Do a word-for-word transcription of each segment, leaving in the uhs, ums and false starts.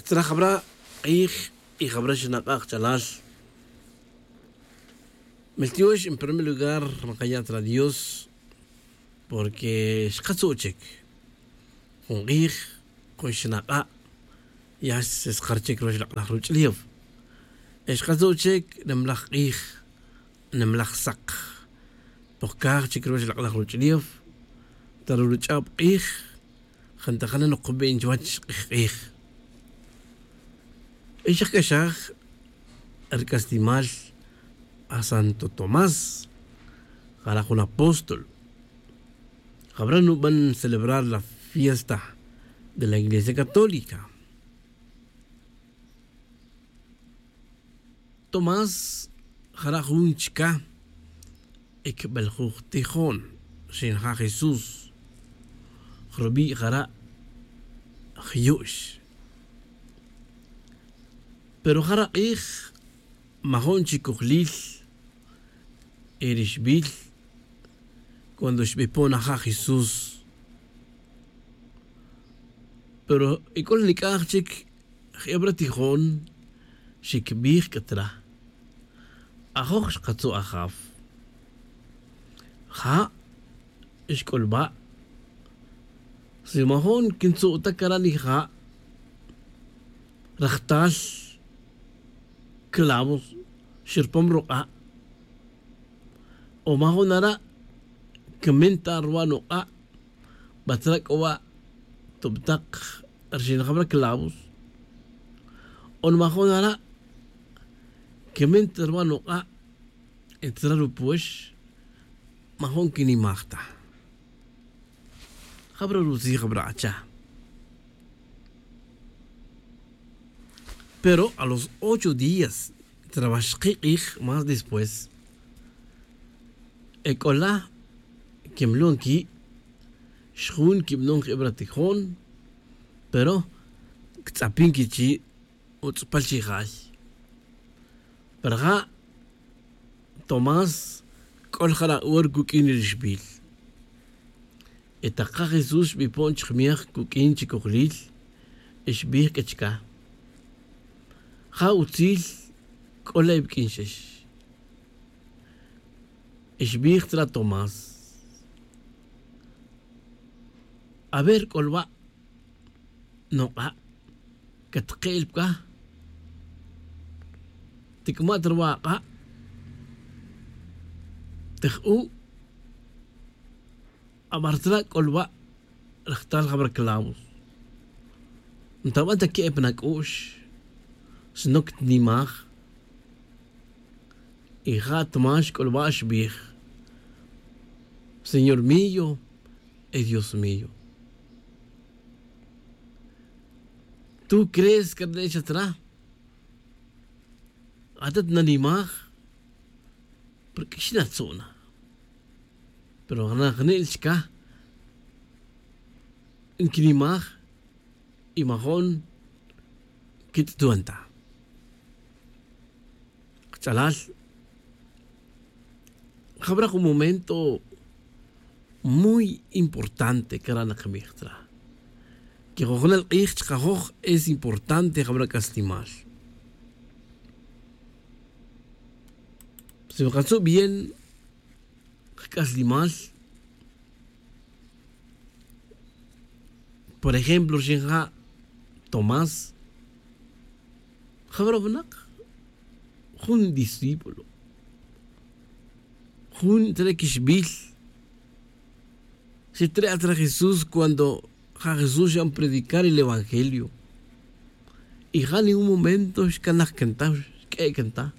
Tzra jabra k'ij y jabra xnak'a' kach'alal. Meltiox en primer lugar, nkaya' tzra dios porque xkatzu' chik jun k'ij, jun xnak'a'. Ya xskar chik ruwach lak'laj ruch'ulef. Xkatzu' chik nimlaj k'ij, nimlaj saq. Pojkaj chik ruwach lak'laj ruch'ulef. Ta ruch'ab k'ij jantajan nokben chuwach k'ij k'ij. Y xak'axaj rk'aslimal a santo tomás, jara' jun apóstol. Jabra nuban celebrar la fiesta de la iglesia católica. Tomás jara' jun chka' ekbeljuj tijon, xinja' jesús. Jrubi' jara' jyu'x. Pero jara' k'ij majo'n chi kojlil erixbil. Cuando xbipon aja' jesús. Pero ec'ol nik'aj chic jebra tijon, xicbij c'a tra. Ajoj xkatzu' ajaf. Ja' xc'ulba'. Si majo'n quintzu' ta cara' ni ja', rajtal clavos xirpom ruk'a'. O majo'n ara' quemen ta ruwa' nuk'a'. Batzra c'o wa' tubtak rxinjab ra clavos. O nmajo'n ara' quemen ta ruwa' nuk'a'. Etzra rupuex majo'n quinimaj ta. Jabra rutzij jabra acha. Pero a los ocho días trabax kik'ij más después. Ec'ola quemlon qui' xjun quibanon jebra tijon. Pero ctz'apin quichi' utz'pal chi jay. Pero ja' tomás c'ol jara' hor cuq'uin rixbil. Y tak ka jesús xbipon chkmej cuq'uin chicojlil, xbij c'a chca. Ja' utzil c'ola iwq'uin xex. Xbij tzra tomás. A ver c'olba'. Nuk'a' catke'el pca. Tic'ma' ta ruwa' ak'a'. Tij u'. Abar tzra' c'olba' rajtal jabra clavos. Ntaban ta que'e pan ac'u'x. Sino ctnimaj. Y ja' tmax c'ulba' xbij. Señor mío y dios mío. Tú crees que rne'el xa tzra? Atat nanimaj. Porque xinatzu'na. Pero jna jne'el chca nquinimaj. Y majo'n quitz'tuan ta. Kach'alal. Jabra jun momento muy importante cara' nakabij tzra. Que jujunal k'ij chkajoj es importante jabra c'aslimal. Si wakatzub bien kac'aslimal. Por ejemplo rxin ja' tomás. Jabra winak jun discípulo jun tzre' quixbil. Xi tzre' atra jesús cuando ja' jesús xan predicar el evangelio. Y ja' ni un momento xcanaj can ta xq'ue' can ta.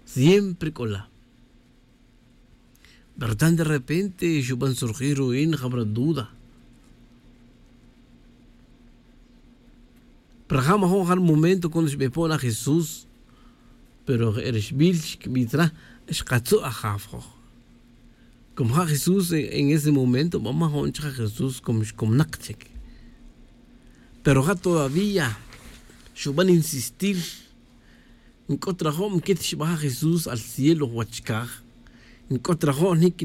Siempre c'o la. Pero tan de repente xuban surgir ru'in jabra duda. Pero ja' majo'n ja' ri momento cuando xbepon a jesús. Pero je' rixbil xquibi' tzra xkatzu' ajaf joj. Como ja' jesús en ese momento ba majo'n chija' jesús como xcomnak chic. Pero ja' todavía xuban insistir. Nc'ut rajob nquit xbaja' jesús al cielo wach caj. Nc'ut rajob nic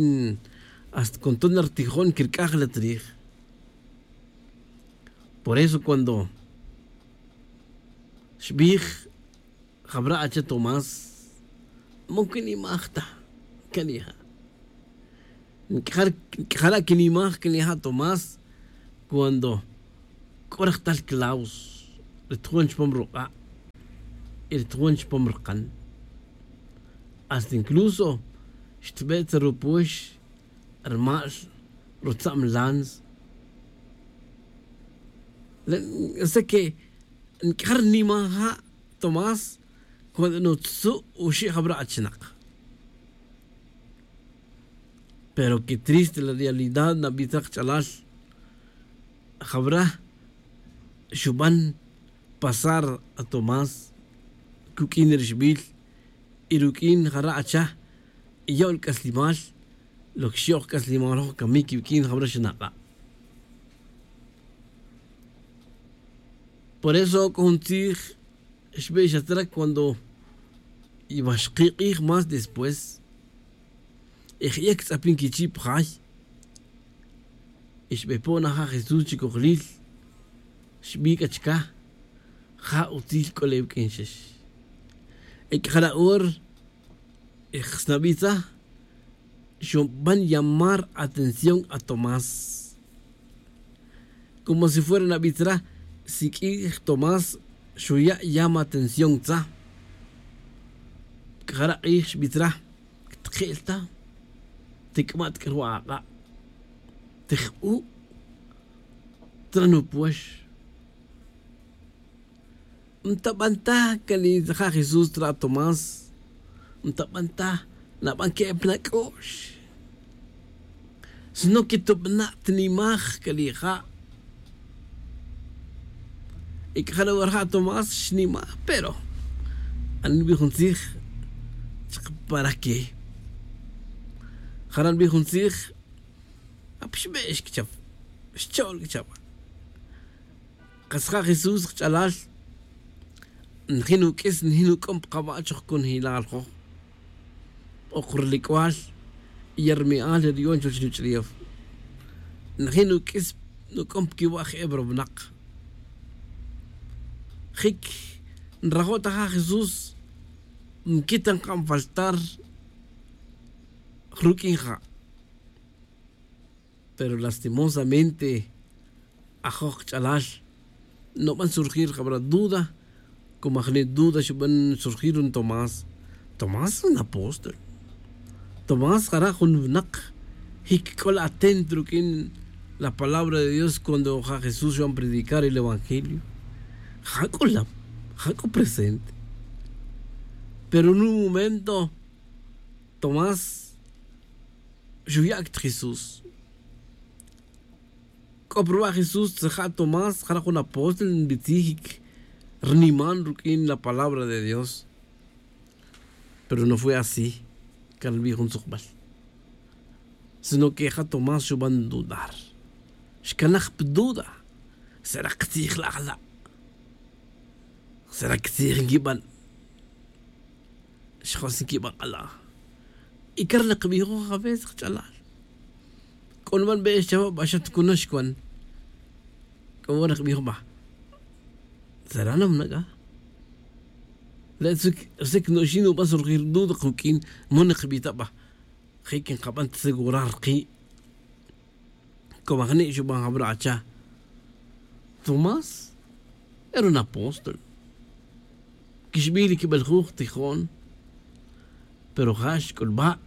hasta con toner tijon quirc'aj la trij. Por eso cuando Xbij jabra' acha tomás, man quinimaj ta. Canija' nc'ajara' quinimaj canija' tomás, cuando c'o rejtal claus ri tjon chupam ruk'a' y ri tjon chupam rukan. Hasta incluso xtbe' ta rupuex rmal rutza'm lanz. Ese que nc'ajar nima ja' tomás cuando nutzu' uxi' jabra' achinak. Pero que triste la realidad nabij ta kach'alal. Jabra' xuban pasar a tomás cuq'uin rixbil y ruq'uin jara' acha y yo'l c'aslimal. Lo que xyo'j c'aslimal roj camic cuq'uin jabra' xanak'a'. Por eso c'o jun tzij xbe' xatzra cuando iwa xki' k'ij más después y jye' ctz'apin quichi' pa jay y xbe' po' na ja' jesús chi cojlil. Xbi' c'a chica ja' utzil c'o le' uq'uin xix. Y c'a jara' hora y jsnabij tzaj xuban llamar atención a tomás. Como si fuera nabij tzra siq'uij tomás xuya' llama atención tzaj. C'a jara' k'ij xbi' tzra ctke'l ta. Tic'ma' ta c'a ruwa' ak'a' tijbu' tzra nupuex. Ntaban ta cani ja' jesús tzra tomás. Ntaban ta naban que'e pa nac'o'x sino que tubana' tinimaj cani ja'. Y c'a jara' wara ja' tomás xnimaj pero anbij jun tzij chaka para que jara' nbij jun tzij. Apixbe'x cachap xcho'l cachap. Kas ja' jesús kach'alal. Njin uq'uis njin uc'om pa kaba' choj conjelal joj. Ok rulic'ual y ya rumi'al ya ruyon chuwech ruch'ulef. Najin nuq'uis nuc'om pa quiwa' je'e pa ruwinak. Jic nrajo' ta ja' jesús nquita nka'an faltar ruq'uin ja'. Pero lastimosamente ajoj kach'alal nuban surgir jabara' duda. Como ajni' duda xuban surgir jun tomás. Tomás jun apóstol. Tomás jara' jun winak jic c'o la atento ruq'uin la palabra de dios cuando ja' jesús xuban predicar el evangelio. Ja' c'o la ja' c'o presente. Pero en un momento tomás xuya' ta jesús. C'o pa ruwa' jesús tzaja' tomás jara' jun apóstol nbitzij. Rniman ruq'uin la palabra de dios. Pero no fue asi. Can nbij jun tzukbal sino que ja' tomás xuban dudar. Xcanaj pa duda. Sera katzij la' jala'? Sera katzij nquiban? Xjos nquiban k'ala'. Y car nakbijoj a veces kach'alal. C'o nuban be' xchawa' ba' xa tucunox cuan. C'o wara nakbijoj ba'. Sera na mnac'a? Le' tzuk rsic nuxin nuban surgir duda kuq'uin. Mo nakbij ta ba'. Jic nkaban ta segurar ki'. Como ajni' xuban jabara' acha tomás era un apóstol. Quixbil quibel juj tijon. Pero ja' xc'ulba'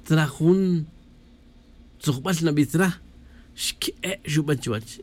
tzra jun tzujbal nabij tzra. Xque'e' xuban chuwech.